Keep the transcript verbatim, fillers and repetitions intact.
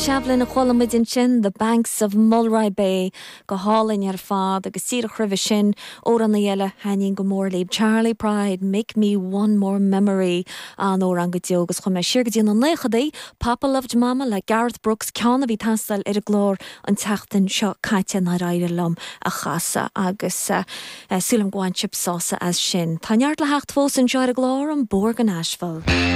Shevlin a chuala muid ansin the Banks of Mulroy Bay go hálainn ar fad agus díreach roimhe sin amhrán eile a thaitníonn go mór liom Charley Pride, Make Me One More Memory an-amhrán go deo agus chuaigh mé siar go dtí na naochadaí, Papa Loved Mama le Garth Brooks ceann a bhí ag teastáil ar an gclár an tseachtain seo caite nár éirigh liom a chasadh agus uh, uh, súil agam gur bhain sibh sásamh as sin. Tá neart le theacht fós anseo ar an gclár an Bóthar go Nashville.